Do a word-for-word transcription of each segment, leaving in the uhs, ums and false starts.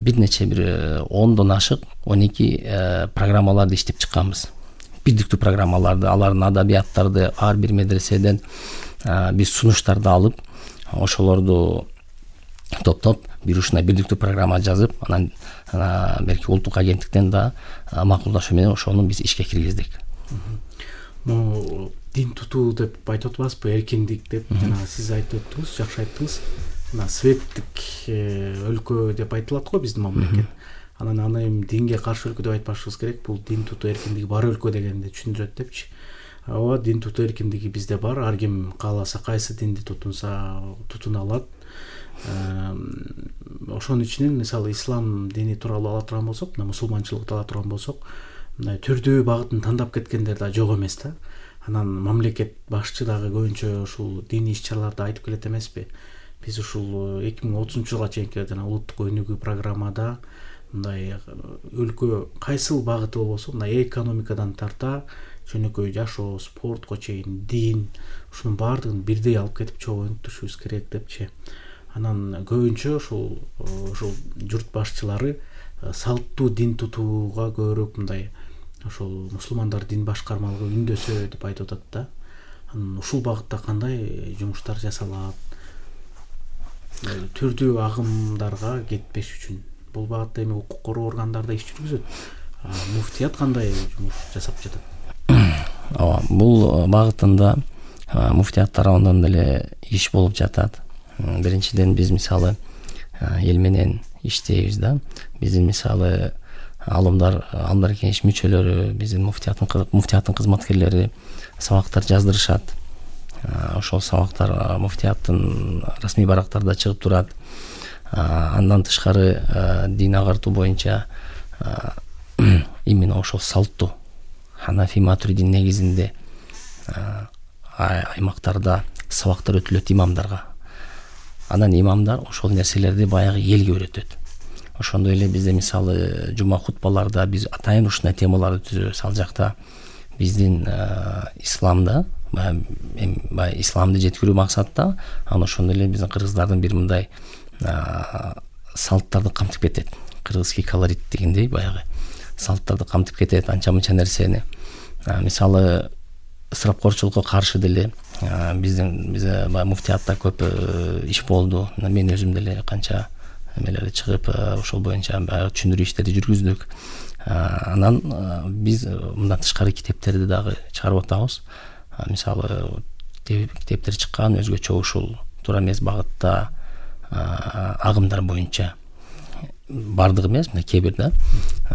бир нече бир ондон ашык он эки программаларды иштеп чыкканбыз. Бирдиктүү программаларды, алардын адабияттарды ар бир медреседен биз сунуштарды алып, ошолорду топтоп бир ушундай бирдиктүү программа жазып, анан берки улуттук агенттиктен да макулдашуу менен ошону биз ишке киргиздик. Могу дин тутуу деп айтып атпайсызбы, эркиндик деп жана сиз айтып өттүңүз, жакшы айттыңыз. Мына светтик өлкө деп айтылат го биздин мамлекет. Анан аны эми динге каршы өлкө деп айтпашыбыз керек. Бул дин тутуу эркиндиги бар өлкө дегенди түшүндүрөт депчи. Ооба, дин тутуу эркиндиги бизде бар. Ар ким кааласа кайсы динди тутунса тутуна алат. Ошонун ичинен мисалы ислам дини тууралуу ала турган болсок, мына мусулманчылыкты ала турган болсок, мындай түрдүү багытын тандап кеткендер да жок эмес да. Анан мамлекет башчы дагы көбүнчө ушул диний иш-чараларды айтып келет эмеспи? Биз ушул эки миң отузунчу жылга чейинки жана улуттук өнүгүү программада мындай өлкө кайсыл багыты болбосо, мындай экономикадан тарта жөнөкөй жашоо, спортко чейин, дин, ушунун баардыгын бирдей алып кетип чогуу өнүктүрүшүбүз керек депчи. Анан көбүнчө ушул ушул журт башчылары салттуу дин тутууга көбүрөөк мындай ошол мусулмандар дин башкармалыгы үндөсө деп айтып атат да. Анан ушул багытта кандай жумуштар жасалат? Түрдүү агымдарга кетпеш үчүн бул багытта эми укук коргоо органдары иш жүргүзөт. Муфтият кандай жумуш жасап жатат? Ооба, бул багытында муфтият тарабынан деле иш болуп жатат. Биринчиден биз мисалы эл менен иштейбиз да. Биздин мисалы алымдар, алымдар кеңеш мүчөлөрү, биздин муфтияттын муфтияттын кызматкерлери сабактар жаздырышат. Ошол сабактар муфтияттын расмий барактарда чыгып турат. Андан тышкары дин агартуу боюнча именно ошол салттуу Ханафи Матуридин негизинде аймактарда сабактар өтүлөт имамдарга. Анан имамдар ошол нерселерди баягы элге үйрөтөт. Ошондой эле бизде мисалы жума хутбаларда биз атайын ушундай темаларды түзөбүз. Ал жакта биздин исламда баягы исламды жеткирүү максатта, анан ошондой эле биздин кыргыздардын бир мындай салттарды камтып кетет. Кыргызский колорит дегендей баягы салттарды камтып кетет, анча мынча нерсени. Мисалы ысырапкорчулукка каршы деле биздин бизде муфтиятта көп иш болду. Мен өзүм деле канча эмелерди чыгып ошол боюнча баягы түшүндүрүү иштерди жүргүздүк. Анан биз мындан тышкары китептерди дагы чыгарып атабыз. Мисалы китептер чыккан өзгөчө ушул туура эмес багытта агымдар боюнча бардыгы эмес, мына кээ бир да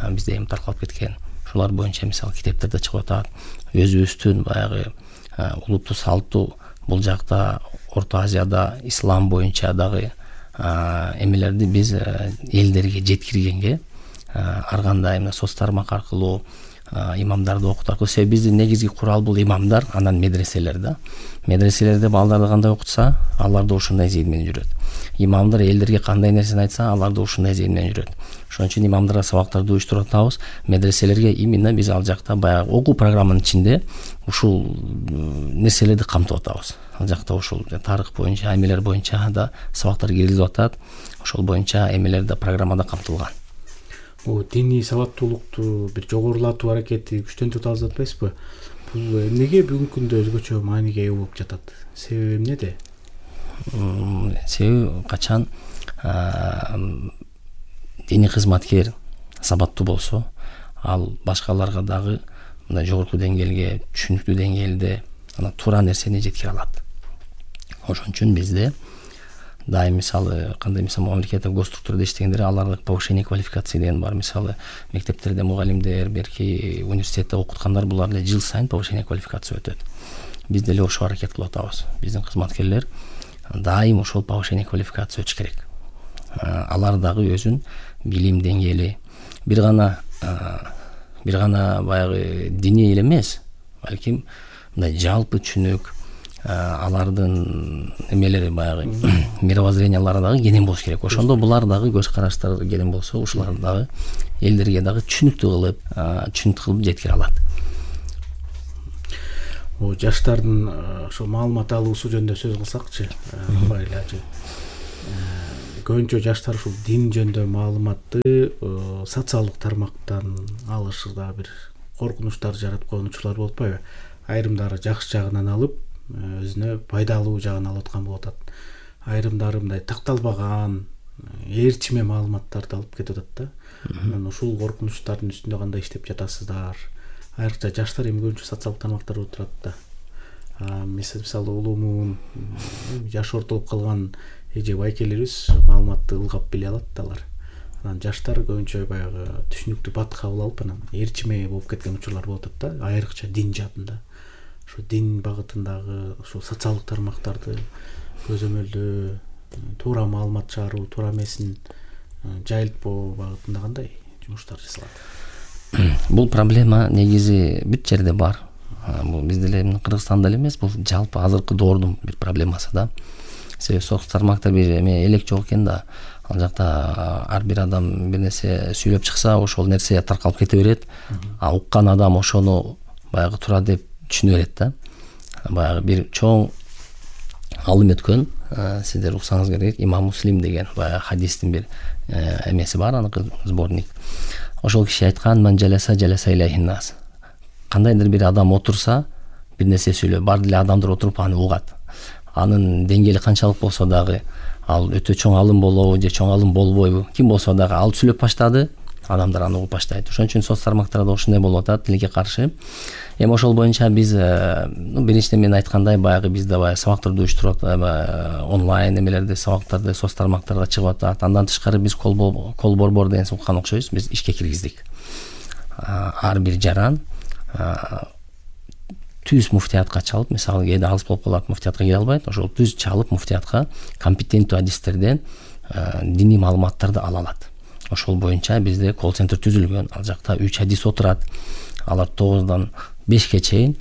бизде эми таркалып кеткен ушулар боюнча мисалы китептерде чыгып атат. Өзүбүздүн баягы улуттуу салттуу бул жакта Орто Азияда ислам боюнча дагы эмелерди биз элдерге жеткиргенге ар кандай мына соц тармак аркылуу имамдарды окутуу аркылуу, себеби биздин негизги курал бул имамдар, анан медреселер да. Медреселерде балдарды кандай окутса, алар да ушундай зейин менен жүрөт. Имамдар элдерге кандай нерсени айтса, алар да ушундай зейин менен жүрөт. Ошон үчүн имамдарга сабактарды уюштуруп атабыз. Медреселерге именно биз ал жакта баягы окуу программанын ичинде ушул нерселерди камтып атабыз. Ал жакта ушул тарых боюнча, эмелер боюнча да сабактар киргизилип атат. Ошол боюнча эмелер да программада камтылган. Бул диний сабаттуулукту бир жогорулатуу аракети күчтөнтүп атабыз деп атпайсызбы? Бул эмнеге бүгүнкү күндө өзгөчө мааниге ээ болуп жатат? Себеби эмнеде? Себеби качан диний кызматкер сабаттуу болсо, ал башкаларга дагы мындай жогорку деңгээлге, түшүнүктүү деңгээлде анан туура нерсени жеткире алат. Ошон үчүн бизде дайым мисалы кандай мисалы мамлекеттик госструктурада иштегендер аларга повышение квалификации деген бар. Мисалы мектептерде мугалимдер, берки университетте окуткандар булар эле жыл сайын повышение квалификация өтөт. Биз деле ошо аракет кылып атабыз. Биздин кызматкерлер дайым ошол повышение квалификация өтүш керек. Алар дагы өзүн билим деңгээли бир гана бир гана баягы диний эле эмес, балким мындай жалпы түшүнүк алардын эмелери баягы мировоззрениялары дагы кенен болуш керек. Ошондо булар дагы көз караштары кенен болсо, ушулар дагы элдерге дагы түшүнүктүү кылып, түшүнүктүү кылып жеткире алат. О, жаштардын ошо маалымат алуусу жөнүндө сөз кылсакчы, көбүнчө жаштар ушул дин жөнүндө маалыматты социалдык тармактан алышырда бир коркунучтар жаратып койгон учурлар болуп атпайбы? Айрымдары жакшы жагынан алып, өзүнө пайдалуу жагын алып аткан болуп атат. Айрымдары мындай такталбаган, ээрчиме маалыматтарды алып кетип атат да. Анан ушул коркунучтардын үстүндө кандай иштеп жатасыздар? Айрыкча жаштар эми көбүнчө социалдык тармактарда отурат да. Мисалы улуумун жашы ортолуп калган эже байкелерибиз маалыматты ылгап биле алат да алар. Анан жаштар көбүнчө баягы түшүнүктүү бат кабыл алып анан ээрчиме болуп кеткен учурлар болуп атат да, айрыкча дин жаатында. Ошо дин багытындагы ушул социалдык тармактарды көзөмөлдөө, туура маалымат чыгаруу, туура эмесин жайылтпоо багытында кандай жумуштар жасалат? Бул проблема негизи бүт жерде бар. Бул бизде эле Кыргызстанда эле эмес, бул жалпы азыркы доордун бир проблемасы да. Себеби социалдык тармакта бир эме элек жок экен да. Ал жакта ар бир адам бир нерсе сүйлөп чыкса, ошол нерсе таркалып кете берет. А уккан адам ошону баягы туура деп түшүнө берет да. Баягы бир чоң алым өткөн, сиздер уксаңыз керек, Имам Муслим деген баягы хадистин бир эмеси бар, аныкы сборник. Ошол киши айткан: "Ман жаласа жаласа илайхиннас." Кандайдыр бир адам отурса, бир нерсе сүйлөп, бар эле адамдар отуруп аны угат. Анын деңгээли канчалык болсо дагы, ал өтө чоң алым болобу же чоң алым болбойбу, ким болсо дагы ал сүйлөп баштады, адамдар аны угуп баштайт. Ошон үчүн соц тармактарда ушундай болуп атат, тилекке каршы. Эми ошол боюнча биз биринчиден мен айткандай баягы бизде баягы сабактарды уюштуруп онлайн эмелерди, сабактарды соц тармактарга чыгып атат. Андан тышкары биз кол борбор деген уккан окшойбуз, биз ишке киргиздик. Ар бир жаран түз муфтиятка чалып, мисалы кээде алыс болуп калат, муфтиятка келе албайт, ошол түз чалып муфтиятка компетенттүү адистерден диний маалыматтарды ала алат. Ошол боюнча бизде колл-центр түзүлгөн. Ал жакта үч адис отурат. Алар тогуздан бешке чейин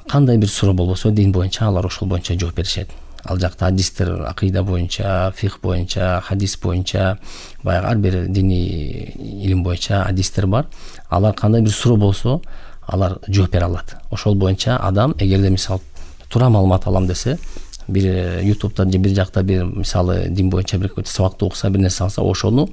кандай бир суроо болбосо дин боюнча алар ошол боюнча жооп беришет. Ал жакта адистер акыйда боюнча, фих боюнча, хадис боюнча, баягы ар бир диний илим боюнча адистер бар. Алар кандай бир суроо болсо, алар жооп бере алат. Ошол боюнча адам эгерде мисалы туура маалымат алам десе, бир ютубта же бир жакта бир мисалы дин боюнча бир сабакты окуса, бир нерсе алса, ошону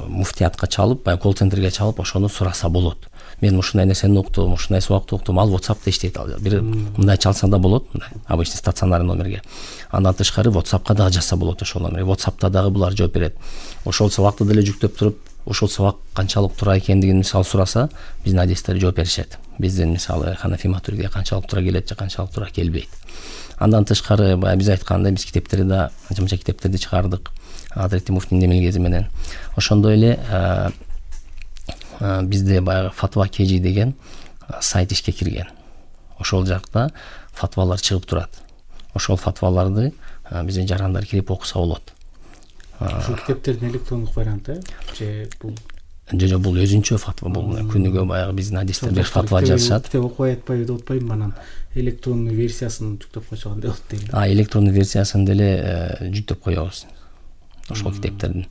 муфтиятка чалып, баягы колл-центрге чалып, ошону сураса болот. Мен ушундай нерсени уктум, ушундай сабакты уктум, ал WhatsApp'та иштейт. Ал бир мындай чалса да болот, мындай обычный стационарный номерге. Андан тышкары WhatsApp'ка дагы жазса болот ошол номерге. WhatsApp'та дагы булар жооп берет. Ошол сабакты деле жүктөп туруп, ошол сабак канчалык туура экендигин мисалы сураса, биздин адистер жооп беришет. Биздин мисалы Ханафи Матуридиге канчалык туура келет же канчалык туура келбейт. Андан тышкары баягы биз айткандай, биз китептерди да, жымча китептерди чыгардык. Азирети муфтинин эмелгези менен. Ошондой эле бизде баягы Фатва Кежи деген сайт ишке кирген. Ошол жакта фатвалар чыгып турат. Ошол фатваларды биздин жарандар кирип окуса болот. Ушул китептердин электрондук варианты же бул жо бул өзүнчө фатва, бул күнүгө баягы биздин адистер бир фатва жазышат. Китеп окуй атпайбы деп атпайбы, анан электрондуу версиясын жүктөп койсо кандай болот дейм. А электрондуу версиясын деле жүктөп коебуз. Ошол китептердин.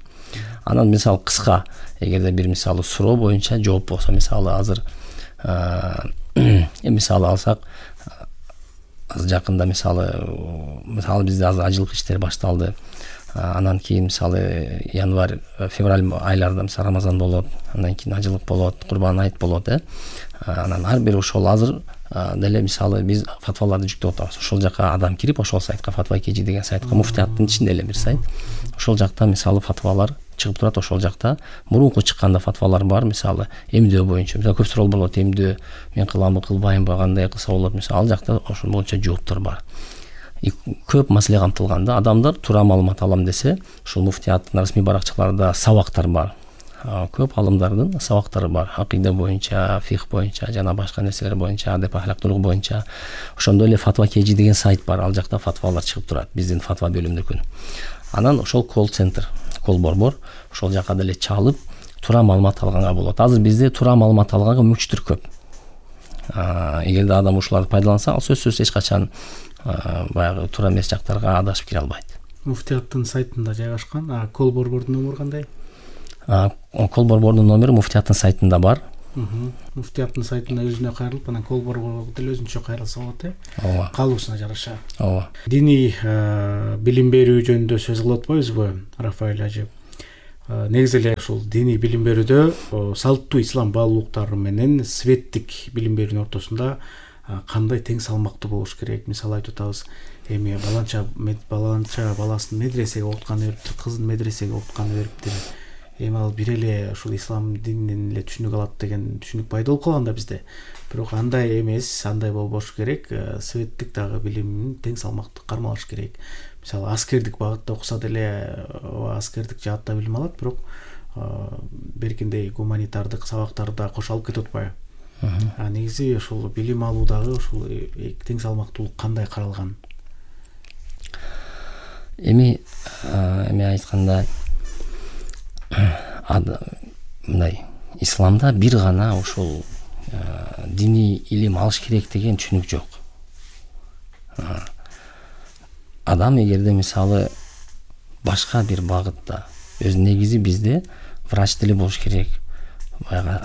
Анан мисалы кыска, эгерде бир мисалы суроо боюнча жооп болсо, мисалы азыр мисалы алсак, азыр жакында мисалы мисалы бизде азыр ажылык иштери башталды. Анан кийин мисалы январь, февраль айларында мисалы Рамазан болот, андан кийин ажылык болот, Курбан айт болот, э. Анан ар бир ошол азыр деле мисалы биз фатваларды жүктөп атабыз. Ошол жака адам кирип, ошол сайтка Фатва Кежи деген сайтка, муфтияттын ичинде эле бир сайт. Ошол жакта мисалы фатвалар чыгып турат. Ошол жакта мурунку чыкканда фатвалар бар, мисалы эмдөө боюнча. Мисалы көп суроо болот, эмдөө мен кыламбы, кылбаймбы, кандай кылса болот, мисалы ал жакта ошол боюнча жооптор бар. Көп маселе камтылганда адамдар туура маалымат алам десе, ушул муфтияттын расмий баракчаларында сабактар бар. Көп алымдардын сабактары бар. Акыйда боюнча, фих боюнча, жана башка нерселер боюнча, адеп ахлактуулук боюнча. Ошондой эле Фатва Кежи деген сайт бар. Ал жакта фатвалар чыгып турат биздин фатва бөлүмүндө. Анан ошол колл-центр, кол борбор, ошол жака деле чалып, туура маалымат алганга болот. Азыр бизде туура маалымат алганга мүмкүнчүлүктөр көп. Эгерде адам ушуларды пайдаланса, ал сөзсүз эч качан баягы туура эмес жактарга адашып кире албайт. Муфтияттын сайтында жайгашкан. А кол борбордун номеру кандай? Кол борбордун номери муфтияттын сайтында бар. Муфтияттын сайтында өзүнө кайрылып, анан Колборго деле өзүнчө кайрылса болот э. Ооба. Калыбысына жараша. Ооба. Диний билим берүү жөнүндө сөз кылып атпайбызбы, Рафаэль ажы? Негизи эле ушул диний билим берүүдө салттуу ислам баалуулуктары менен светтик билим берүүнүн ортосунда кандай тең салмактуу болуш керек? Мисалы айтып атабыз, эми баланча баланча баласын медресеге окутканы бериптир, кызын медресеге окутканы бериптир. Эми ал бир эле ушул ислам дининен эле түшүнүк алат деген түшүнүк пайда болуп калган да бизде. Бирок андай эмес, андай болбош керек. Светтик дагы билимин тең салмактуу кармалаш керек. Мисалы аскердик багытта окуса деле аскердик жаатта билим алат, бирок беркиндей гуманитардык сабактарды да кошо алып кетип атпайбы? А негизи ушул билим алуудагы ушул тең салмактуулук кандай каралган? Эми эми айтканда мындай исламда бир гана ушул диний илим алыш керек деген түшүнүк жок. Адам эгерде мисалы башка бир багытта, өз негизи бизде врач деле болуш керек, баягы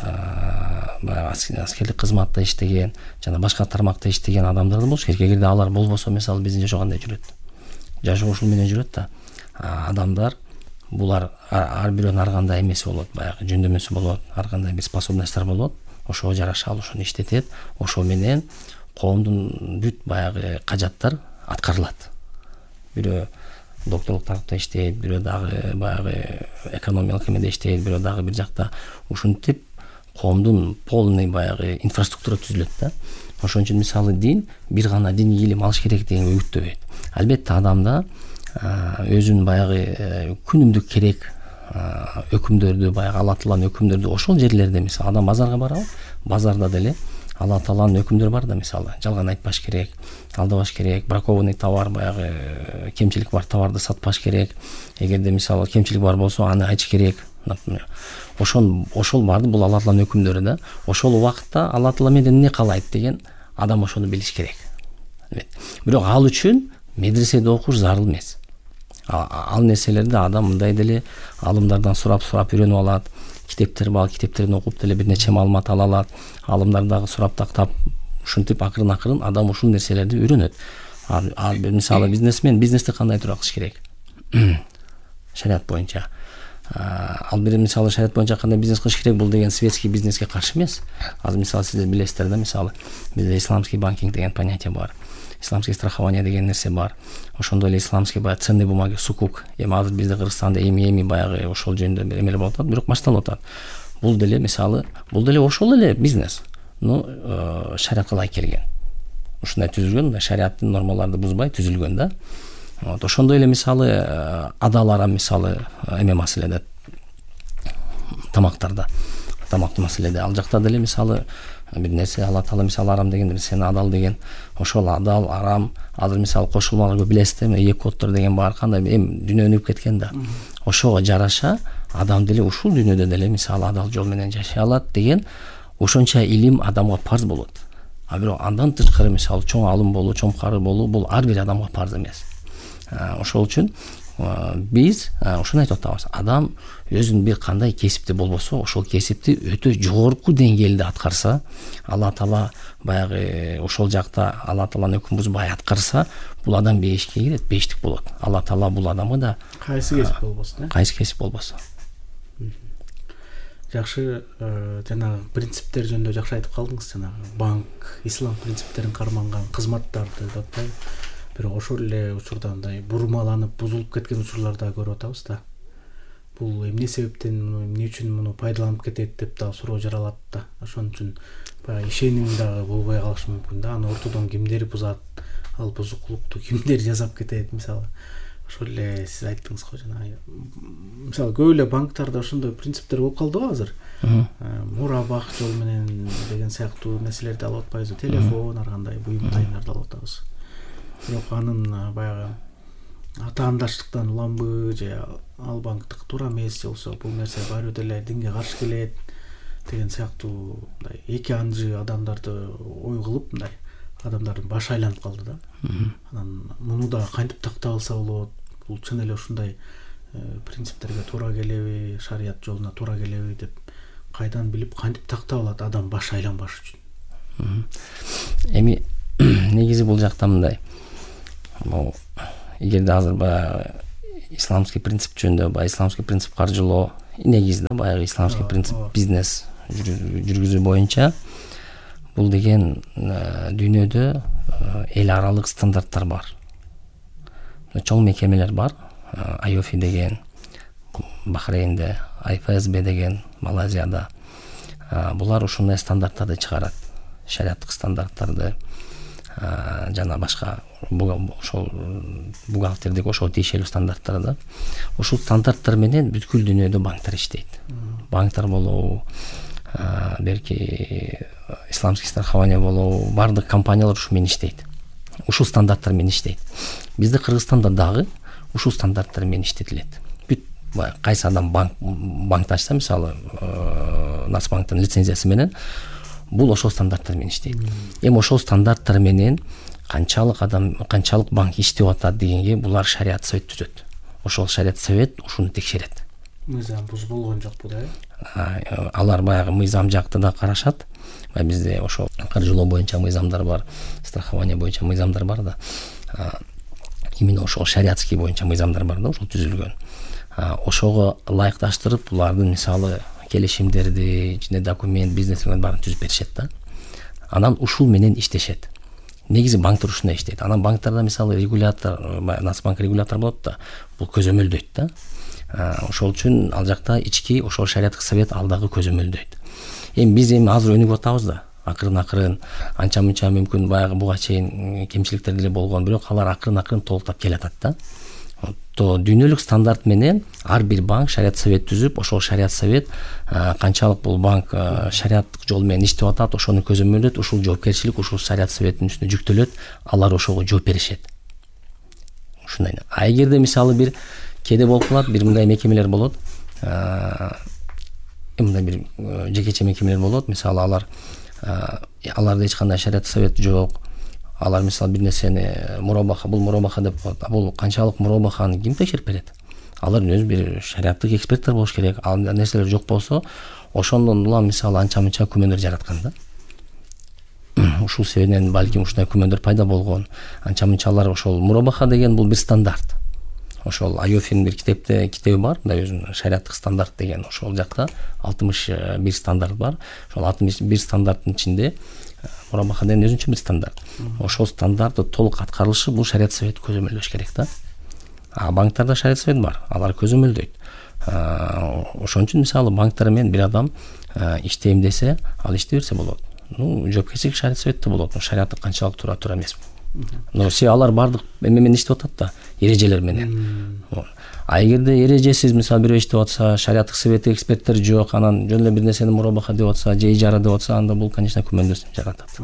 аскерлик кызматта иштеген жана башка тармакта иштеген адамдар да болуш керек. Эгерде алар болбосо, мисалы биздин жашоо кандай жүрөт? Жашоо ушул менен жүрөт да. Адамдар булар ар бирөөнүн ар кандай эмеси болот, баягы жөндөмөсү болот, ар кандай бир способностьтор болот. Ошого жараша ал ошону иштетет. Ошо менен коомдун бүт баягы кажаттар аткарылат. Бирөө докторлук тарапта иштейт, бирөө дагы баягы экономиялык эмеде иштейт, бирөө дагы бир жакта. Ушинтип коомдун полный баягы инфраструктура түзүлөт да. Ошон үчүн мисалы дин бир гана диний илим алыш керек деген үгүттөбөйт. Албетте адамда өзүнүн баягы күнүмдүк керек өкүмдөрдү, баягы Алла Тааланын өкүмдөрдү ошол жерлерде, мисалы адам базарга барабы, базарда деле Алла Тааланын өкүмдөрү бар да, мисалы жалган айтпаш керек, алдабаш керек, бракованный товар, баягы кемчилик бар товарды сатпаш керек. Эгерде мисалы кемчилик бар болсо аны айтыш керек. Ошол ошол барды, бул Алла Тааланын өкүмдөрү да. Ошол убакытта Алла Таала менден эмне каалайт деген адам ошону билиш керек. Бирок ал үчүн медреседе окуш зарыл эмес. Ал нерселерди адам мындай деле алымдардан сурап-сурап үйрөнүп алат. Китептер бар, китептерден окуп деле бир нече маалымат ала алат. Алымдар дагы сурап тактап, ушинтип акырын-акырын адам ушул нерселерди үйрөнөт. Ал мисалы бизнесмен бизнесте кандай турак кылыш керек? Шариат боюнча. Ал бир мисалы шариат боюнча кандай бизнес кылыш керек, бул деген светский бизнеске каршы эмес. Азыр мисалы сиздер билесиздер да, мисалы бизде исламский банкинг деген понятие бар. Исламский страхование деген нерсе бар. Ошондой эле исламский баягы ценный бумаги, сукук. Эми азыр бизде Кыргызстанда эми-эми баягы ошол жөнүндө бир эмелер болуп атат, бирок башталып атат. Бул деле мисалы, бул деле ошол эле бизнес. Ну, шариатка ылайык келген. Ушундай түзүлгөн, шариаттын нормаларды бузбай түзүлгөн да. Вот ошондой эле мисалы адал арам, мисалы эме маселеде, тамактарда, тамактуу маселеде ал жакта деле мисалы бир нерсе Алла Таала мисалы арам деген, сен адал деген, ошол адал арам азыр мисалы кошулмалар билесиздер, эки коддор деген бар, кандай эми дүйнө өнүгүп кеткен да. Ошого жараша адам деле ушул дүйнөдө деле мисалы адал жол менен жашай алат деген ошонча илим адамга парз болот. А бирок андан тышкары мисалы чоң алым болуу, чоң кары болуу бул ар бир адамга парз эмес. Ошол үчүн биз ушуну айтып атабыз. Адам өзүнүн бир кандай кесипти болбосо, ошол кесипти өтө жогорку деңгээлде аткарса, Алла Таала баягы ошол жакта Алла Тааланын өкүмүн бузбай аткарса, бул адам бешикке кирет, бештик болот. Алла Таала бул адамга да кайсы кесип болбосун, э? Кайсы кесип болбосо. Жакшы, жанагы принциптер жөнүндө жакшы айтып калдыңыз, жанагы банк, ислам принциптерин карманган кызматтарды деп атпайбы? Бирок ошол эле учурда мындай бурмаланып, бузулуп кеткен учурлар да көрүп атабыз да. Бул эмне себептен, эмне үчүн муну пайдаланып кетет деп да суроо жаралат да. Ошон үчүн баягы ишеним дагы болбой калышы мүмкүн да. Аны ортодон кимдер бузат, ал бузукулукту кимдер жасап кетет, мисалы. Ошол эле сиз айттыңыз го жана. Мисалы көп эле банктарда ошондой принциптер болуп калды го азыр. Мурабак жол менен деген сыяктуу нерселерди алып атпайбызбы? Телефон, ар кандай буюм тайымдарды алып атабыз. Бирок анын баягы атаандаштыктан уламбы же ал банктык туура эмес, же болсо бул нерсе баары деле динге каршы келет деген сыяктуу мындай эки анжы адамдарды ой кылып, мындай адамдардын башы айланып калды да. Анан муну да кантип тактап алса болот? Бул чын эле ушундай принциптерге туура келеби, шарият жолуна туура келеби деп кайдан билип кантип тактап алат адам баш айланбаш үчүн? Эми негизи бул жакта мындай, бул эгерде азыр баягы исламский принцип жөнүндө, баягы исламский принцип каржылоо, негизи да баягы исламский принцип бизнес жүргүзүү боюнча бул деген дүйнөдө эл аралык стандарттар бар. Чоң мекемелер бар. ай оф и деген Бахрейнде, ай эф эс би деген Малайзияда. Булар ушундай стандарттарды чыгарат. Шариаттык стандарттарды жана башка ошол бухгалтердик ошого тиешелүү стандарттарды. Ушул стандарттар менен бүткүл дүйнөдө банктар иштейт. Банктар болобу, берки исламский страхование болобу, бардык компаниялар ушу менен иштейт. Ушул стандарттар менен иштейт. Бизде Кыргызстанда дагы ушул стандарттар менен иштетилет. Бүт кайсы адам банк банкты ачса, мисалы, Нацбанктын лицензиясы менен бул ошол стандарттар менен иштейт. Эми ошол стандарттар менен канчалык адам, канчалык банк иштеп атат дегенге булар шариат совет түзөт. Ошол шариат совет ушуну текшерет. Мыйзам бузулгон жокпу да? Алар баягы мыйзам жакты да карашат. Бизде ошол каржылоо боюнча мыйзамдар бар, страхование боюнча мыйзамдар бар да. Именно ошол шариатский боюнча мыйзамдар бар да, ошол түзүлгөн. Ошого ылайыкташтырып, булардын мисалы келишимдерди, жана документ, бизнестин баарын түзүп беришет да. Анан ушул менен иштешет. Негизи банктар ушундай иштейт. Анан банктарда мисалы регулятор, Нацбанк регулятор болот да, бул көзөмөлдөйт да. Ошол үчүн ал жакта ички ошол шариаттык совет ал дагы көзөмөлдөйт. Эми биз эми азыр өнүгүп атабыз да. Акырын-акырын анча-мынча мүмкүн баягы буга чейин кемчиликтер деле болгон, бирок алар акырын-акырын толуктап келатат да. То дүйнөлүк стандарт менен ар бир банк шариат совет түзүп, ошол шариат совет канчалык бул банк шариаттык жол менен иштеп атат, ошону көзөмөлдөйт, ушул жоопкерчилик ушул шариат советтин үстүнө жүктөлөт, алар ошого жооп беришет. Ушундай. А эгерде мисалы бир кээде болуп калат, бир мындай мекемелер болот. Мындай бир жекече мекемелер болот, мисалы алар аларда эч кандай шариат совет жок. Алар мисалы бир нерсени мурабаха, бул мурабаха деп коет. Бул канчалык мурабаханы ким текшерип берет? Алар өзү бир шариаттык эксперттер болуш керек. Ал нерселер жок болсо, ошондон улам мисалы анча-мынча күмөндөр жараткан да. Ушул себептен балким ушундай күмөндөр пайда болгон. Анча-мынчалар ошол мурабаха деген бул бир стандарт. Ошол ай оф и'нин бир китепте китеби бар, мындай өзүнүн шариаттык стандарт деген. Ошол жакта алтымыш бир стандарт бар. Ошол алтымыш бир стандарттын ичинде мурабаха деген өзүнчө бир стандарт. Ошол стандартты толук аткарылышы бул шариат совет көзөмөлдөш керек да. А банктарда шариат совет бар, алар көзөмөлдөйт. Ошон үчүн мисалы банктар менен бир адам иштейм десе, ал иштей берсе болот. Ну, жоопкерчилик шариат советте болот. Шариаттык канчалык туура туура эмес. Но се алар бардык эме менен иштеп атат да, эрежелер менен. А эгерде эрежесиз мисалы бирөө иштеп атса, шариаттык совет эксперттер жок, анан жөн эле бир нерсени мурабаха деп атса, же ижара деп атса, анда бул конечно күмөндөр жаратат.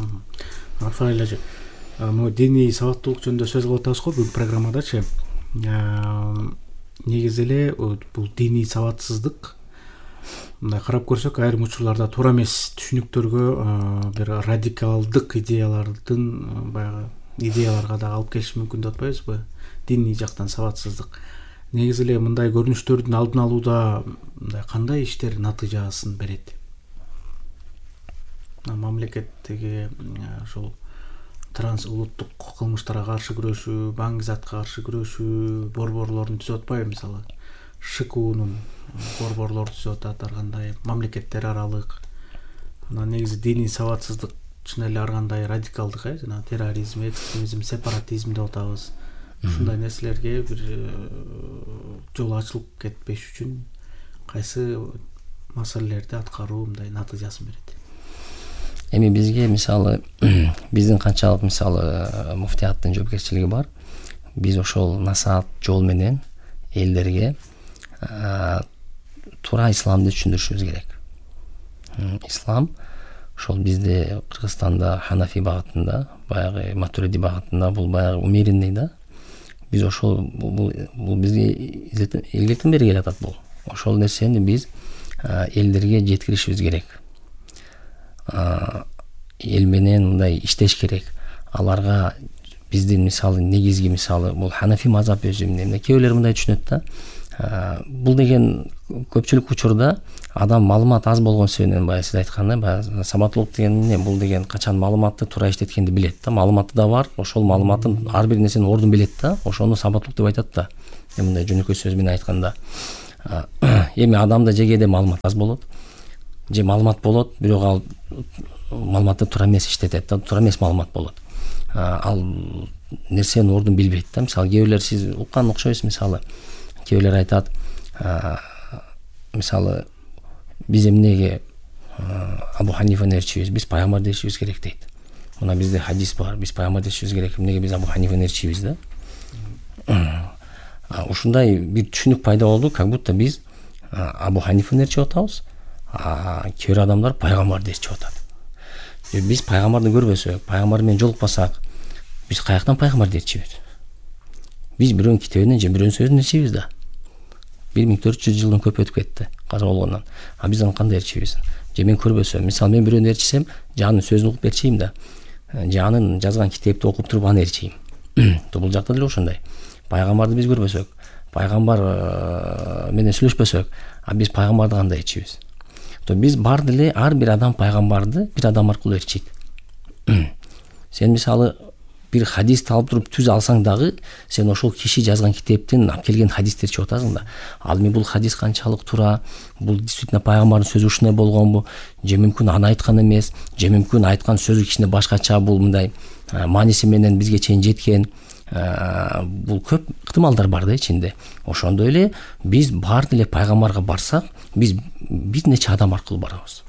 Рафаэль эже, могу диний сабаттуулук жөнүндө сөз кылып атабыз го бүгүнкү программадачы. Негизи эле бул диний сабатсыздык, мындай карап көрсөк, айрым учурларда туура эмес түшүнүктөргө, бир радикалдык идеялардын баягы идеяларга да алып келиши мүмкүн деп атпайбызбы? Диний жактан сабатсыздык. Негизи эле мындай көрүнүштөрдүн алдын алууда мындай кандай иштер натыйжасын берет? Мамлекеттеги ошол транс улуттук кылмыштарга каршы күрөшүү, баңгизатка каршы күрөшүү борборлорун түзүп атпайбы? Мисалы ШКУнун борборлору түзүп атат, ар кандай мамлекеттер аралык. Анан негизи диний сабатсыздык чын эле ар кандай радикалдык, э, жана терроризм, экстремизм, сепаратизм деп атабыз. Ушундай нерселерге бир жол ачылып кетпеш үчүн кайсы маселелерди аткаруу мындай натыйжасын берет? Эми бизге мисалы биздин канчалык мисалы муфтияттын жоопкерчилиги бар. Биз ошол насаат жол менен элдерге туура исламды түшүндүрүшүбүз керек. Ислам ошол бизде Кыргызстанда Ханафи багытында, баягы Матуриди багытында бул баягы умеренный да. Биз ошол бул бизге илгертен бери келатат бул. Ошол нерсени биз элдерге жеткиришибиз керек. Эл менен мындай иштеш керек. Аларга биздин мисалы негизги мисалы бул Ханафи мазхабы өзү эмне. Кээ бирлер мындай түшүнөт да. Бул деген көпчүлүк учурда адам маалымат аз болгон себебинен баягы сиз айткандай баягы сабаттуулук деген эмне, бул деген качан маалыматты туура иштеткенди билет да, маалыматы да бар, ошол маалыматтын ар бир нерсенин ордун билет да, ошону сабаттуулук деп айтат да. Эми мындай жөнөкөй сөз менен айтканда, эми адамда же кээде маалымат аз болот, же маалымат болот, бирок ал маалыматты туура эмес иштетет да, туура эмес маалымат болот. Ал нерсенин ордун билбейт да. Мисалы кээ бирлер сиз уккан окшойсуз, мисалы кээ бирлер айтат, мисалы биз эмнеге Абу Ханифаны ээрчийбиз, биз пайгамбарды ээрчийбиз керек дейт. Мына бизде хадис бар, биз пайгамбарды ээрчийбиз керек, эмнеге биз Абу Ханифаны ээрчийбиз да. Ушундай бир түшүнүк пайда болду, как будто биз Абу Ханифаны ээрчип атабыз, а кээ бир адамдар пайгамбарды ээрчип атат. Биз пайгамбарды көрбөсөк, пайгамбар менен жолукпасак, биз каяктан пайгамбарды ээрчийбиз? Биз бирөөнүн китебинен же бирөөнүн сөзүнөн ээрчийбиз да. бир миң төрт жүз жылдан көп өтүп кетти каза болгондон. А биз аны кандай ээрчийбиз? Же мен көрбөсөм, мисалы мен бирөөнү ээрчисем, же анын сөзүн угуп ээрчийм да, же анын жазган китепти окуп туруп аны ээрчийм. Бул жакта деле ошондой. Пайгамбарды биз көрбөсөк, пайгамбар менен сүйлөшпөсөк, а биз пайгамбарды кандай ээрчийбиз? То биз бар деле ар бир адам пайгамбарды бир адам аркылуу ээрчийт. Сен мисалы бир хадисти алып туруп түз алсаң дагы, сен ошол киши жазган китептен алып келген хадисти ээрчип атасың да. Ал эми бул хадис канчалык туура, бул действительно пайгамбардын сөзү ушундай болгонбу, же мүмкүн аны айткан эмес, же мүмкүн айткан сөзү кичине башкача, бул мындай мааниси менен бизге чейин жеткен. Бул көп ыктымалдар бар да ичинде. Ошондой эле биз бар деле пайгамбарга барсак, биз бир нече адам аркылуу барабыз.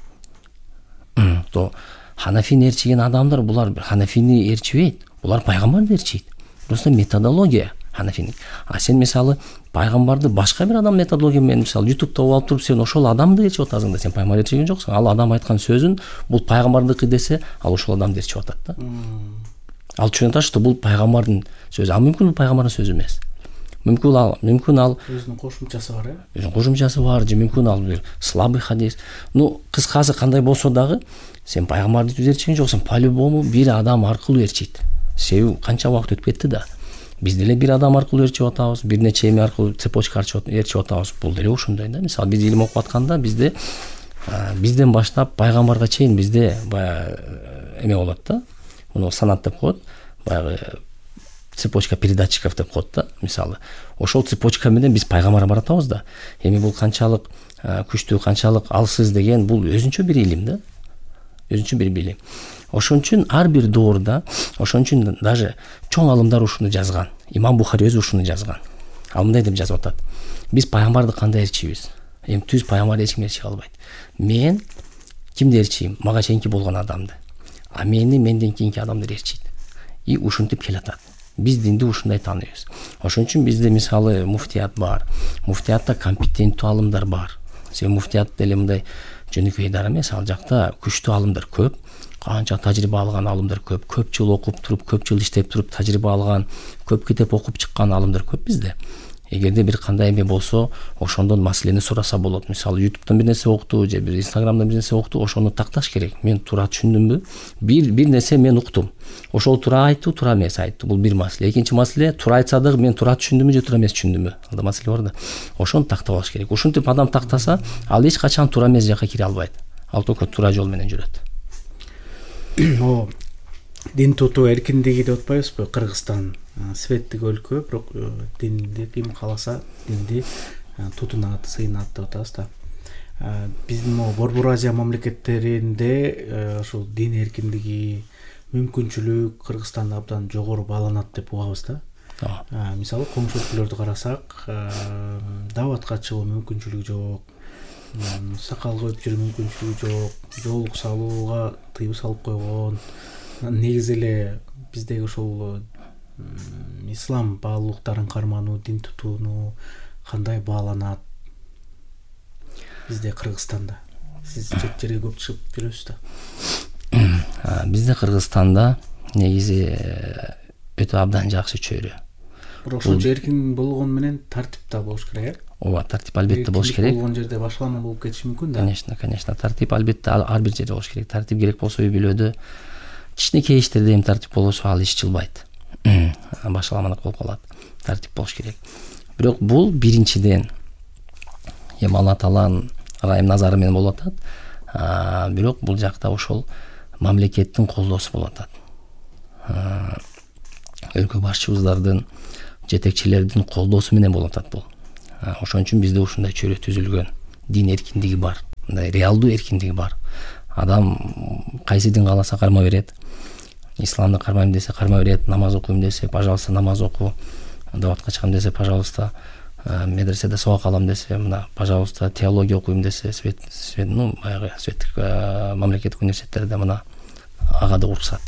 То Ханафини ээрчиген адамдар, булар Ханафини ээрчибейт, булар пайгамбарды ээрчийт. Просто методология Ханафини. А сен мисалы пайгамбарды башка бир адам методология менен мисалы ютубта алып туруп сен ошол адамды ээрчип атасың да, сен пайгамбарды ээрчиген жоксуң. Ал адам айткан сөзүн бул пайгамбардыкы десе, ал ошол адамды ээрчип атат да. Ал түшүнүп атат, что бул пайгамбардын сөзү, а мүмкүн бул пайгамбардын сөзү эмес. Мүмкүн ал, мүмкүн ал өзүнүн кошумчасы бар, э? Өзүнүн кошумчасы бар, же мүмкүн ал бир слабый хадис. Ну, кыскасы кандай болсо дагы, сен пайгамбарды түз ээрчиген жоксуң, по-любому бир адам аркылуу ээрчийт. Себеби канча убакыт өтүп кетти да. Биз деле бир адам аркылуу ээрчип атабыз, бир нече эме аркылуу цепочка ээрчип атабыз. Бул деле ошондой да. Мисалы биз илим окуп атканда бизде бизден баштап пайгамбарга чейин бизде баягы эме болот да. Муну санат деп коет. Баягы цепочка передатчиков деп коет да. Мисалы, ошол цепочка менен биз пайгамбарга баратабыз да. Эми бул канчалык күчтүү, канчалык алсыз деген бул өзүнчө бир илим да. Өзүнчө бир билим. Ошон үчүн ар бир доорда, ошон үчүн даже чоң алымдар ушуну жазган. Имам Бухари өзү ушуну жазган. Ал мындай деп жазып атат: биз пайгамбарды кандай ээрчийбиз? Эми түз пайгамбарды эч ким ээрчие албайт. Мен кимди ээрчийм? Мага чейинки болгон адамды. А мени менден кийинки адамдар ээрчийт. И ушинтип келатат. Биз динди ушундай тааныйбыз. Ошон үчүн бизде мисалы муфтият бар. Муфтиятта компетенттүү алымдар бар. Себеби муфтият деле мындай жөнөкөй идара эмес, ал жакта күчтүү алымдар көп, канча тажрыйба алган алымдар көп, көп жыл окуп туруп, көп жыл иштеп туруп тажрыйба алган, көп китеп окуп чыккан алымдар көп бизде. Эгерде бир кандай эме болсо, ошондон маселени сураса болот. Мисалы ютубтан бир нерсе укту, же бир инстаграмдан бир нерсе укту, ошону такташ керек. Мен туура түшүндүмбү? Бир бир нерсе мен уктум. Ошол туура айтты, туура эмес айтты. Бул бир маселе. Экинчи маселе, туура айтса дагы мен туура түшүндүмбү же туура эмес түшүндүмбү? Алда маселе бар да. Ошону тактап алыш керек. Ушинтип адам тактаса, ал эч качан туура эмес жакка кире албайт. Ал только туура жол менен жүрөт. О, дин тутуу эркиндиги деп атпайбызбы? Кыргызстан светтик өлкө, бирок динди ким кааласа динди тутунат, сыйнат деп атабыз да. Биздин могу Борбор Азия мамлекеттеринде ошол дин эркиндиги, мүмкүнчүлүк Кыргызстанда абдан жогору бааланат деп угабыз да. Мисалы коңшу өлкөлөрдү карасак, дааватка чыгуу мүмкүнчүлүгү жок, сакал коюп жүрүү мүмкүнчүлүгү жок, жоолук салууга тыюу салып койгон. Негизи эле биздеги ошол ислам баалуулуктарын кармануу, дин тутууну кандай бааланат бизде Кыргызстанда? Сиз чет жерге көп чыгып жүрөсүз да. Бизде Кыргызстанда негизи өтө абдан жакшы чөйрө. Бирок ошо эркин болгон менен тартип да болуш керек, э? Ооба, тартип албетте болуш керек. Болгон жерде башкалама болуп кетиши мүмкүн да. Конечно, конечно, тартип албетте ар бир жерде болуш керек. Тартип керек болсо үй бүлөдө, кичинекей иштерде эми тартип болсо ал иш жылбайт. Башаламалык болуп калат. Тартип болуш керек. Бирок бул биринчиден эми Алла Тааланын ырайым назары менен болуп атат. Бирок бул жакта ошол мамлекеттин колдоосу болуп атат. Өлкө башчыбыздардын, жетекчилердин колдоосу менен болуп атат бул. Ошон үчүн бизде ушундай чөйрө түзүлгөн. Дин эркиндиги бар, мындай реалдуу эркиндиги бар. Адам кайсы дин кааласа кармай берет. Исламды кармайм десе кармай берет, намаз окуйм десе, пожалуйста, намаз оку. Даватка чыгам десе, пожалуйста, медреседе сабак алам десе, мына, пожалуйста, теология окуйм десе, свет, свет, ну, баягы светтик мамлекеттик университеттерде мына ага да уруксат,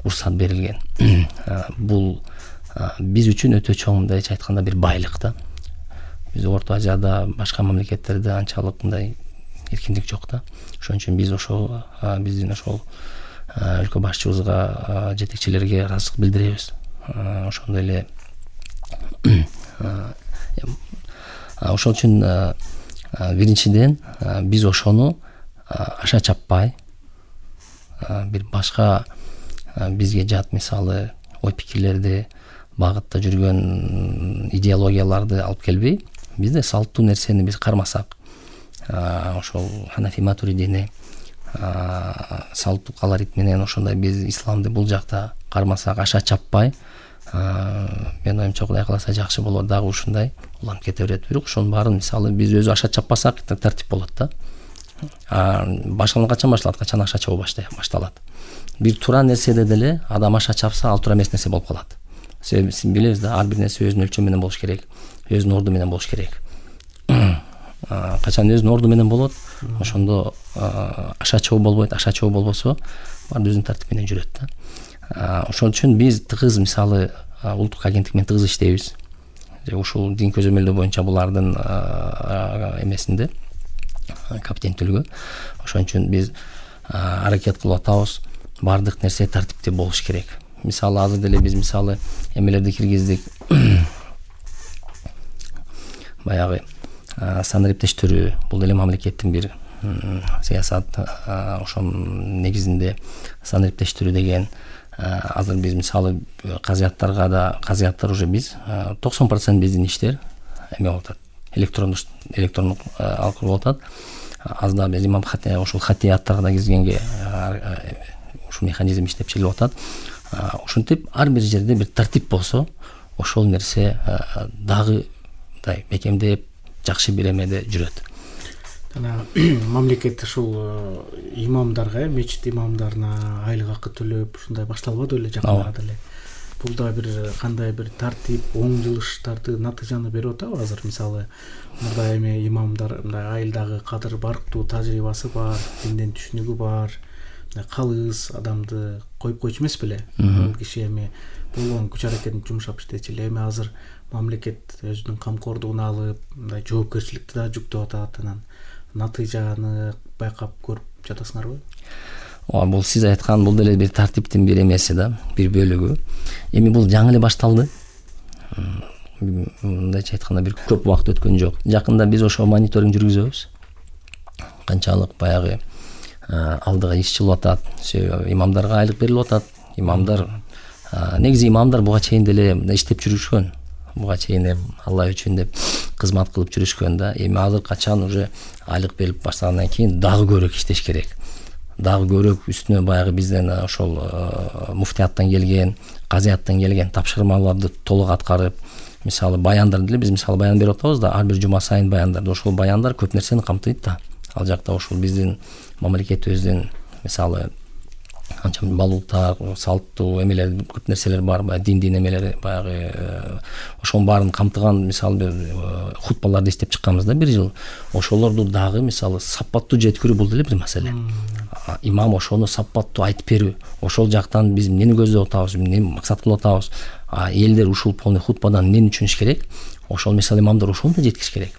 уруксат берилген. Бул биз үчүн өтө чоң, мындайча айтканда, бир байлык да. Биз Орто Азияда, башка мамлекеттерде анчалык мындай эркиндик жок да. Ошон үчүн биз ошол биздин ошол өлкө башчыбызга, жетекчилерге ыраазычылык билдиребиз. Ошондой эле ошол үчүн биринчиден биз ошону аша чаппай, бир башка бизге жат, мисалы, ой пикирлерди, багытта жүргөн идеологияларды алып келбей, бизде салттуу нерсени биз кармасак, ошол Ханафи Матуридини салттуу колорит менен ошондой биз исламды бул жакта кармасак, аша чаппай, мен оюмча Кудай кааласа жакшы болот, дагы ушундай уланып кете берет. Бирок ошонун баарын, мисалы, биз өзү аша чаппасак, тартип болот да. Башкалан качан башталат, качан аша чабуу башталат. Бир туура нерседе деле адам аша чапса, ал туура эмес нерсе болуп калат. Себеби сиз билебиз да, ар бир нерсе өзүнүн өлчөмү менен болуш керек, өзүнүн орду менен болуш керек. Качан өзүнүн орду менен болот, ошондо аша чабуу болбойт, аша чабуу болбосо, баары өзүнүн тартип менен жүрөт да. Ошон үчүн биз тыгыз, мисалы, улуттук агенттик менен тыгыз иштейбиз. Ушул дин көзөмөлдөө боюнча булардын эмесинде компетенттүүлүгү. Ошон үчүн биз аракет кылып атабыз, баардык нерсе тартиптүү болуш керек. Мисалы, азыр деле биз мисалы эмелерди киргиздик. Баягы санариптештирүү, бул деле мамлекеттин бир саясат, ошол негизинде санариптештирүү деген. Азыр биз мисалы казыяттарга да, казыяттар уже биз токсон процент биздин иштер эме болуп атат, электрондук электрондук алкыр болуп атат. Аз да биз имам хати, ошол хатияттарга да киргенге ушул механизм иштеп чыгылып атат. Ушинтип ар бир жерде бир тартип болсо, ошол нерсе дагы мындай бекемдеп, жакшы бир эмеде жүрөт. Жана мамлекет ушул имамдарга, мечит имамдарына айлык акы төлөп ушундай башталбады эле жакында деле. Бул да бир кандай бир тартип, оң жылыштарды, натыйжаны берип атабы азыр? Мисалы, мурда эми имамдар мындай айылдагы кадыр барктуу тажрыйбасы бар, динден түшүнүгү бар, калыс адамды коюп койчу эмес беле? Бул киши эми болгон күч аракетин жумшап иштечү эле. Эми азыр мамлекет өзүнүн камкордугуна алып, мындай жоопкерчиликти да жүктөп атат, анан натыйжаны байкап көрүп жатасыңарбы? Ооба, бул сиз айткан бул деле бир тартиптин бир эмеси да, бир бөлүгү. Эми бул жаңы эле башталды. Мындайча айтканда бир көп убакыт өткөн жок. Жакында биз ошо мониторинг жүргүзөбүз. Канчалык баягы алдыга иш чыгып атат, имамдарга айлык берилип атат. Имамдар негизи имамдар буга чейин деле иштеп жүрүшкөн. Буга чейин Алла үчүн деп кызмат кылып жүрүшкөн да. Эми азыр качан уже айлык берилип баштагандан кийин дагы көбүрөөк иштеш керек. Дагы көбүрөөк үстүнө баягы бизден ошол муфтияттан келген, казыяттан келген тапшырмаларды толук аткарып, мисалы баяндар деле биз мисалы баян берип атабыз да, ар бир жума сайын баяндар. Ошол баяндар көп нерсени камтыйт да. Ал жакта ошол биздин мамлекетибиздин мисалы анча балуктар, салттуу эмелер, көп нерселер бар, баягы диндин эмелери, баягы ошонун баарын камтыган мисалы бир хутбаларды иштеп чыкканбыз да бир жыл. Ошолорду дагы мисалы сапаттуу жеткирүү бул деле бир маселе. Имам ошону сапаттуу айтып берүү. Ошол жактан биз эмнени көздөп атабыз, эмнени максат кылып атабыз, элдер ушул полный хутбадан эмнени түшүнүш керек, ошол мисалы имамдар ошону да жеткириш керек.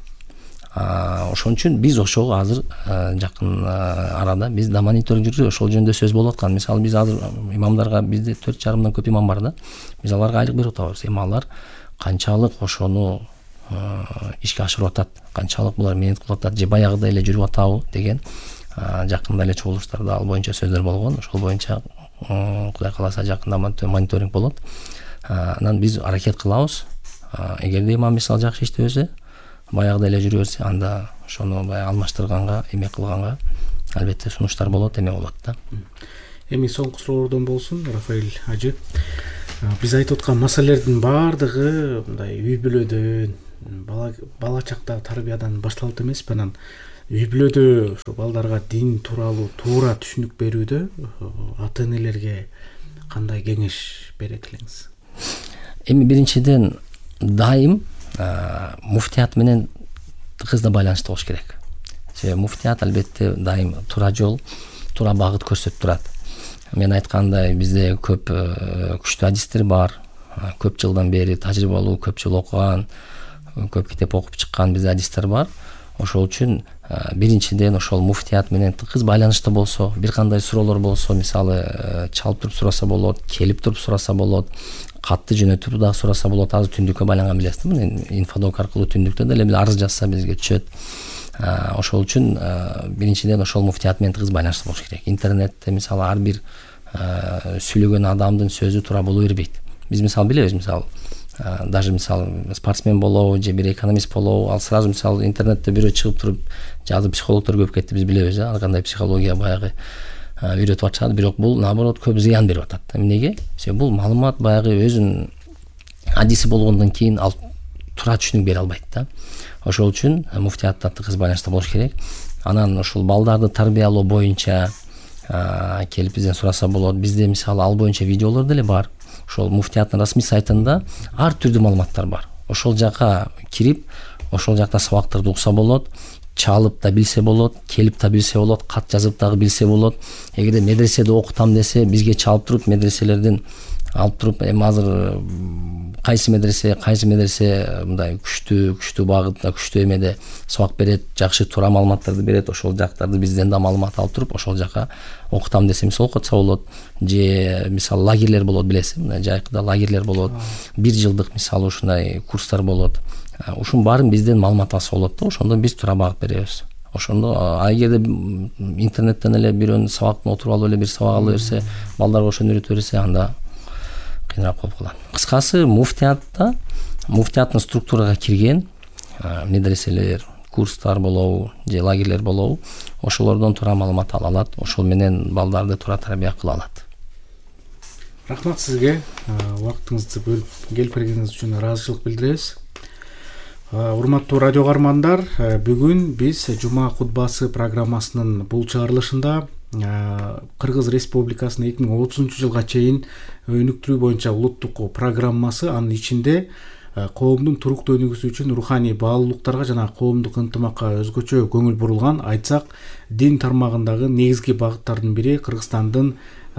Ошон үчүн биз ошого азыр жакын арада биз да мониторинг жүргүзүп, ошол жөнүндө сөз болуп аткан. Мисалы биз азыр имамдарга бизде төрт жарымдан көп имам бар да. Биз аларга айлык берип атабыз. Эми алар канчалык ошону ишке ашырып атат, канчалык булар мээнет кылып атат, же баягыдай эле жүрүп атабы деген жакында эле чогулуштарда ал боюнча сөздөр болгон. Ошол боюнча Кудай кааласа жакында мониторинг болот. Анан биз аракет кылабыз. Эгерде имам мисалы жакшы иштебесе, баягыдай эле жүрө берсе, анда ошону баягы алмаштырганга, эме кылганга албетте сунуштар болот, эме болот да. Эми соңку суроолордон болсун, Рафаэль ажы. Биз айтып аткан маселелердин баардыгы мындай үй бүлөдөн, бала бала чактагы тарбиядан башталат эмеспи? Анан үй бүлөдө ошо балдарга дин тууралуу туура түшүнүк берүүдө ата-энелерге кандай кеңеш берет элеңиз? Эми биринчиден дайым муфтият менен тыгыз байланыштуу болуш керек. Себеби муфтият албетте дайым туура жол, туура багыт көрсөтүп турат. Мен айткандай бизде көп күчтүү адистер бар. Көп жылдан бери тажрыйбалуу, көп жыл окуган, көп китеп окуп чыккан бизде адистер бар. Ошол үчүн биринчиден ошол муфтият менен тыгыз байланыштуу болсо, бир кандай суроолор болсо, мисалы чалып туруп сураса болот, келип туруп сураса болот, катты жөнөтүп дагы сураса болот. Азыр түндүккө байланган билесизби? Инфодок аркылуу түндүктө деле бир арыз жазса бизге түшөт. Ошол үчүн биринчиден ошол муфтият менен тыгыз байланыштуу болуш керек. Интернетте мисалы ар бир сүйлөгөн адамдын сөзү туура боло бербейт. Биз мисалы билебиз, мисалы даже мисалы спортсмен болобу же бир экономист болобу, ал сразу мисалы интернетте бирөө чыгып туруп жазып психологдор көп кетти, биз билебиз, ар кандай психология баягы үйрөтүп атышат, бирок бул наоборот көп зыян берип атат. Эмнеге? Себеби бул маалымат баягы өзүнүн адиси болгондон кийин ал туура түшүнүк бере албайт да. Ошол үчүн муфтиятта тыгыз байланыштуу болуш керек. Анан ошол балдарды тарбиялоо боюнча келип бизден сураса болот. Бизде мисалы ал боюнча видеолор деле бар. Ошол муфтияттын расмий сайтында ар түрдүү маалыматтар бар. Ошол жака кирип, ошол жакта сабактарды укса болот, чалып да билсе болот, келип да билсе болот, кат жазып дагы билсе болот. Эгерде медреседе окутам десе, бизге чалып туруп медреселерден алып туруп, эми азыр кайсы медресе, кайсы медресе мындай күчтүү, күчтүү багытта, күчтүү эмеде сабак берет, жакшы туура маалыматтарды берет, ошол жактарды бизден да маалымат алып туруп, ошол жака окутам десе мисалы окутса болот. Же мисалы лагерлер болот, билесиз, мына жайкыда лагерлер болот. Бир жылдык мисалы ушундай курстар болот. Ушунун баарын бизден маалымат алса болот да, ошондо биз туура багыт беребиз. Ошондо а эгерде интернеттен эле бирөөнүн сабактын отуруп алып эле бир сабак ала берсе, балдарга ошону үйрөтө берсе, анда кыйыныраак болуп калат. Кыскасы, муфтиятта муфтияттын структурага кирген медреселер, курстар болобу, же лагерлер болобу, ошолордон туура маалымат ала алат, ошол менен балдарды туура тарбия кыла алат. Рахмат сизге, убактыңызды бөлүп келип бергениңиз үчүн ыраазычылык билдиребиз. Урматтуу радио каармандар, бүгүн биз Жума кутбасы программасынын бул чыгарылышында Кыргыз Республикасынын эки миң отузунчу жылга чейин өнүктүрүү боюнча улуттук программасы, анын ичинде коомдун туруктуу өнүгүүсү үчүн руханий баалуулуктарга жана коомдук ынтымакка өзгөчө көңүл бурулган, айтсак, дин тармагындагы негизги багыттардын бири Кыргызстандын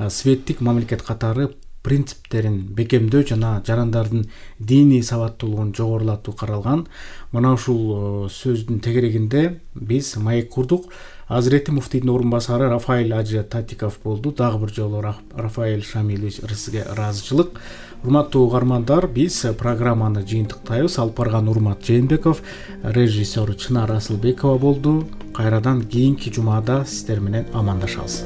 светтик мамлекет катары принциптерин бекемдөө жана жарандардын диний сабаттуулугун жогорулатуу каралган. Мына ушул сөздүн тегерегинде биз маек курдук. Азирети муфтийдин орун басары Рафаэль Ажы Татиков болду. Дагы бир жолу Рафаэль Шамилович сизге ыраазычылык. Урматтуу угармандар, биз программаны жыйынтыктайбыз. Алып барган Урмат Жээнбеков, режиссер Чынар Асылбекова болду. Кайрадан кийинки жумада сиздер менен амандашабыз.